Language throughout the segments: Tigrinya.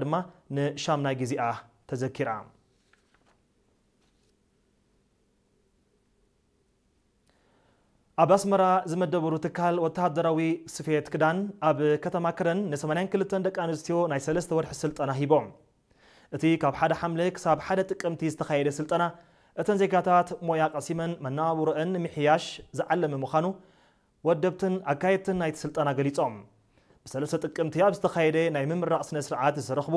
ድማ ንሻምናይ ግዜኣ ተዘኪራ። ኣብ ኣስመራ ዝመደበሩ ትካል ወተሃደራዊ ስፌት ክዳን ኣብ ከተማ ከረን ን82 ደቂ ኣንስትዮ ናይ ሰለስተ ወርሒ ስልጠና ሂቦም። እቲ ካብ ሓደ ሓምለ ክሳብ ሓደ ጥቅምቲ ዝተኻየደ ስልጠና፣ እተን ዜጋታት ሞያ ቀሲመን መነባብሮአን ንምሕያሽ ዝዓለመ ምዃኑ ወደብትን ኣካየድትን ናይቲ ስልጠና ገሊጾም። ብሰለስተ ጥቅምቲ ኣብ ዝተኻየደ ናይ ምምራቕ ስነ ስርዓት ዝተረኽቡ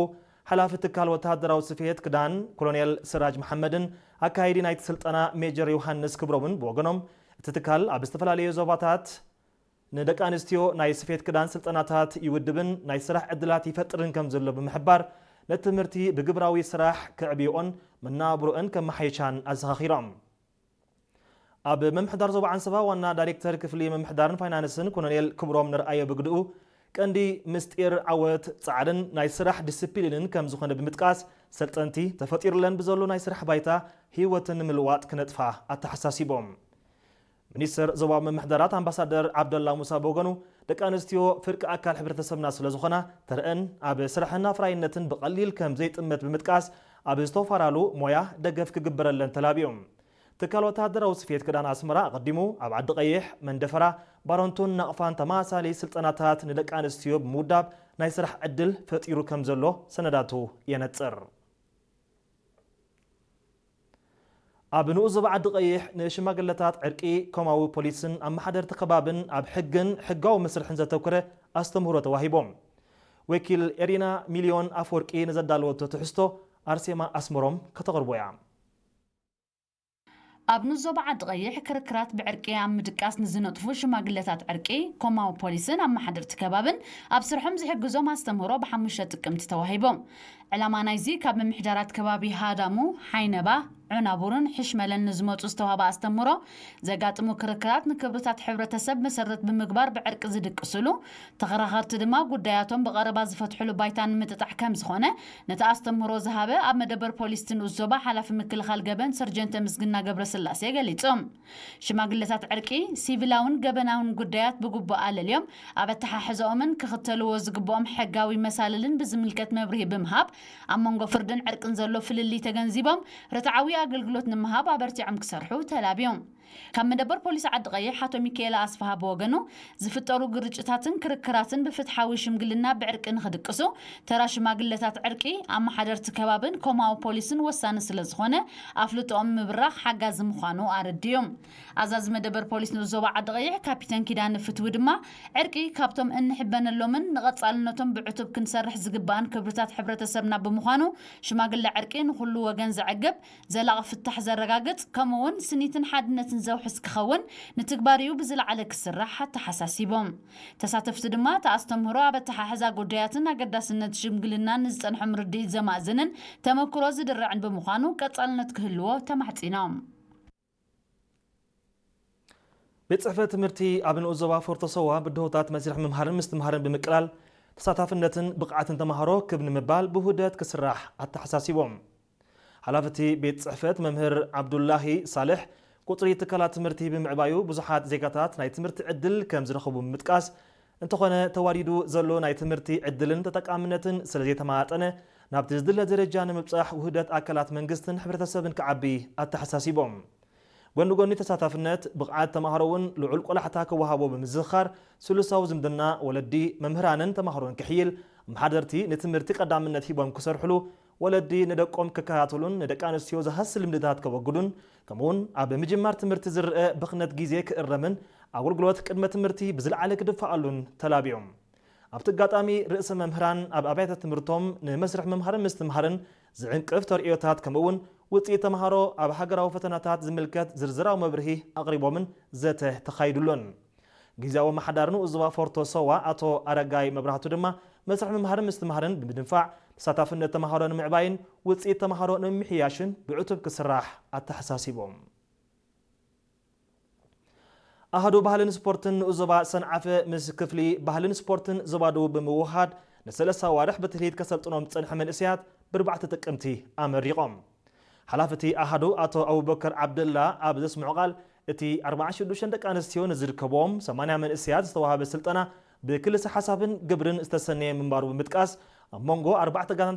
ሓላፊ ትካል ወተሃደራዊ ስፌት ክዳን ኮሎኔል ስራጅ መሓመድን ኣካያዲ ናይቲ ስልጠና ሜጀር ዮሃንስ ክብሮምን ብወገኖም፣ እቲ ትካል ኣብ ዝተፈላለዩ ዞባታት ንደቂ ኣንስትዮ ናይ ስፌት ክዳን ስልጠናታት ይውድብን ናይ ስራሕ ዕድላት ይፈጥርን ከም ዘሎ ብምሕባር፣ ነቲ ትምህርቲ ብግብራዊ ስራሕ ከዕብዮኦን መናብሮአን ከመሓየሻን ኣዘኻኺሮም። ኣብ ምምሕዳር ዞባ ዓንሰባ ዋና ዳይሬክተር ክፍሊ ምምሕዳርን ፋይናንስን ኮሎኔል ክብሮም ንርኣዮ ብግድኡ፣ ቀንዲ ምስጢር ዓወት ጻዕርን ናይ ስራሕ ዲስፕሊንን ከም ዝኾነ ብምጥቃስ፣ ሰልጠንቲ ተፈጢሩለን ብዘሎ ናይ ስራሕ ባይታ ህይወትን ንምልዋጥ ክነጥፋ ኣተሓሳሲቦም። ሚኒስተር ዞባዊ ምምሕዳራት ኣምባሳደር ዓብደላ ሙሳ ብወገኑ፣ ደቂ ኣንስትዮ ፍርቂ ኣካል ሕብረተሰብና ስለ ዝኾና፣ ተረአን ኣብ ስራሕን ኣፍራይነትን ብቐሊል ከም ዘይጥመት ብምጥቃስ፣ ኣብ ዝተወፈራሉ ሞያ ደገፍ ክግበረለን ተላብዮም። ትካል ወተሃደራዊ ስፌት ክዳን ኣስመራ ኣቐዲሙ ኣብ ዓዲ ቀይሕ፣ መንደፈራ፣ ባረንቱን ናቕፋን ተመሳሳሊ ስልጠናታት ንደቂ ኣንስትዮ ብምውዳብ ናይ ስራሕ ዕድል ፈጢሩ ከም ዘሎ ሰነዳቱ የነጽር። ኣብ ንኡስ ዞባ ዓዲ ቀይሕ ንሽማግለታት ዕርቂ ኮማዊ ፖሊስን ኣመሓደርቲ ከባብን ኣብ ሕግን ሕጋዊ መስርሕን ዘተኮረ ኣስተምህሮ ተዋሂቦም። ወኪል ኤሪና ሚልዮን ኣፈወርቂ ንዘዳለወቶ ትሕዝቶ ኣርሴማ ኣስመሮም ከተቕርቦ እያ። ኣብ ንኡስ ዞባ ዓዲ ቀይሕ ክርክራት ብዕርቂ ኣብ ምድቃስ ንዝነጥፉ ሽማግለታት ዕርቂ ኮማዊ ፖሊስን ኣመሓደርቲ ከባብን ኣብ ስርሖም ዝሕግዞም ኣስተምህሮ ብሓሙሽተ ጥቅምቲ ተዋሂቦም። ዕላማ ናይዚ ካብ ምምሕዳራት ከባቢ ሃዳሙ፣ ሓይነባ፣ ዑናቡርን ሕሽመለን ንዝመጹ ዝተዋህበ ኣስተምህሮ፣ ዘጋጥሙ ክርክራት ንክብርታት ሕብረተሰብ መሰረት ብምግባር ብዕርቂ ዝድቅስሉ፣ ተኸራኸርቲ ድማ ጉዳያቶም ብቐረባ ዝፈትሕሉ ባይታ ንምጥጣሕ ከም ዝኾነ ነቲ ኣስተምህሮ ዝሃበ ኣብ መደበር ፖሊስ እቲ ንኡስ ዞባ ሓላፊ ምክልኻል ገበን ሰርጀንት ተምስግና ገብረስላሴ ገሊጹ። ሽማግለታት ዕርቂ ሲቪላውን ገበናውን ጉዳያት ብግቡእ ኣለልዮም ኣብ ኣተሓሕዛኦምን ክኽተልዎ ዝግብኦም ሕጋዊ መሳልልን ብዝምልከት መብርሂ ብምሃብ፣ ኣብ መንጎ ፍርድን ዕርቅን ዘሎ ፍልልይ ተገንዚቦም ርትዓዊ ኣገልግሎት ንምሃብ ኣበርቲዖም ክሰርሑ ተላብዮም። ካብ መደበር ፖሊስ ዓዲ ቀይሕ ኣቶ ሚካኤል ኣስፍሃ ብወገኑ፣ ዝፍጠሩ ግርጭታትን ክርክራትን ብፍትሓዊ ሽምግልና ብዕርቂ ንኽድቅሱ፣ ተራ ሽማግለታት ዕርቂ፣ ኣመሓደርቲ ከባብን ኮማዊ ፖሊስን ወሳኒ ስለ ዝኾነ፣ ኣፍልጦኦም ምብራኽ ሓጋዚ ምዃኑ ኣረድዮም። ኣዛዚ መደበር ፖሊስ ንኡስ ዞባ ዓዲ ቀይሕ ካፒተን ኪዳነ ፍትዊ ድማ፣ ዕርቂ ካብቶም እንሕበነሎምን ንቐጻልነቶም ብዕቱብ ክንሰርሕ ዝግባእን ክብርታት ሕብረተሰብና ብምዃኑ፣ ሽማግለ ዕርቂ ንኹሉ ወገን ዘዕግብ፣ ዘላቒ ፍታሕ ዘረጋግጽ፣ ከምኡ'ውን ስኒትን ሓድነትን ዘውሕስ ክኸውን ንትግባሪኡ ብዝለዓለ ክስራሕ ኣተሓሳሲቦም። ተሳተፍቲ ድማ እቲ ኣስተምህሮ ኣብ ኣተሓሕዛ ጉዳያትን ኣገዳስነት ሽምግልናን ንዝጸንሖም ርድኢት ዘማእዝንን ተመክሮ ዝድርዕን ብምዃኑ ቀጻልነት ክህልዎ ተማሕጺኖም። ቤት ጽሕፈት ትምህርቲ ኣብ ንኡስ ዞባ ፎርቶ ሰዋ ብድሆታት መስርሕ ምምሃርን ምስትምሃርን ብምቅላል ተሳታፍነትን ብቕዓትን ተምሃሮ ክብ ንምባል ብውህደት ክስራሕ ኣተሓሳሲቦም። ሓላፊ እቲ ቤት ጽሕፈት መምህር ዓብዱላሂ ሳልሕ፣ ቁጽሪ ትካላት ትምህርቲ ብምዕባዩ ብዙሓት ዜጋታት ናይ ትምህርቲ ዕድል ከም ዝረኽቡ ብምጥቃስ፣ እንተኾነ ተዋዲዱ ዘሎ ናይ ትምህርቲ ዕድልን ተጠቃምነትን ስለ ዘይተመጣጠነ፣ ናብቲ ዝድለ ደረጃ ንምብጻሕ ውህደት ኣካላት መንግስትን ሕብረተሰብን ክዓቢ ኣተሓሳሲቦም። ጎኒ ጎኒ ተሳታፍነት፣ ብቕዓት ተምሃሮ እውን ልዑል ቆላሕታ ክወሃቦ ብምዝኽኻር፣ ስሉሳዊ ዝምድና ወለዲ፣ መምህራንን ተምሃሮን ክሕይል፣ ኣመሓደርቲ ንትምህርቲ ቀዳምነት ሂቦም ክሰርሕሉ፣ ወለዲ ንደቆም ክከታተሉን ንደቂ ኣንስትዮ ዝሃሲ ልምድታት ከወግዱን፣ ከምኡውን ኣብ ምጅማር ትምህርቲ ዝረአ ብኽነት ግዜ ክእረምን ኣገልግሎት ቅድመ ትምህርቲ ብዝለዓለ ክድፋኣሉን ተላብዮም። ኣብቲ ኣጋጣሚ ርእሰ መምህራን ኣብ ኣብያተ ትምህርቶም ንመስርሕ ምምሃርን ምስትምሃርን ዝዕንቅፍ ተርእዮታት ከምኡውን ውፅኢት ተምሃሮ ኣብ ሃገራዊ ፈተናታት ዝምልከት ዝርዝራዊ መብርሂ ኣቕሪቦምን ዘተ ተኻይዱሉን። ግዝያዊ ኣመሓዳሪ ንኡስ ዞባ ፎርቶ ሰዋ ኣቶ ኣረጋይ መብራህቱ ድማ መስርሕ ምምሃርን ምስትምሃርን ብምድንፋዕ ተሳታፍነት ተምሃሮ ንምዕባይን ውፅኢት ተምሃሮ ንምምሕያሽን ብዕቱብ ክስራሕ ኣተሓሳሲቦም። ኣሃዱ ባህልን ስፖርትን ንኡስ ዞባ ሰንዓፈ ምስ ክፍሊ ባህልን ስፖርትን ዞባ ደቡብ ብምውሃድ ንሰለስተ ኣዋርሕ ብትልሂት ከሰልጥኖም ዝጸንሐ መንእሰያት ብርባዕተ ጥቅምቲ ኣመሪቖም። ሓላፊ እቲ ኣሃዱ ኣቶ ኣቡበከር ዓብደላ ኣብ ዘስምዖ ቃል፣ እቲ ኣርባዓን ሽዱሽተን ደቂ ኣንስትዮ ንዝርከብዎም ሰማንያ መንእሰያት ዝተዋህበ ስልጠና ብክልሰ ሓሳብን ግብርን ዝተሰነየ ምንባሩ ብምጥቃስ፣ ኣብ መንጎ ኣርባዕተ ጋንታ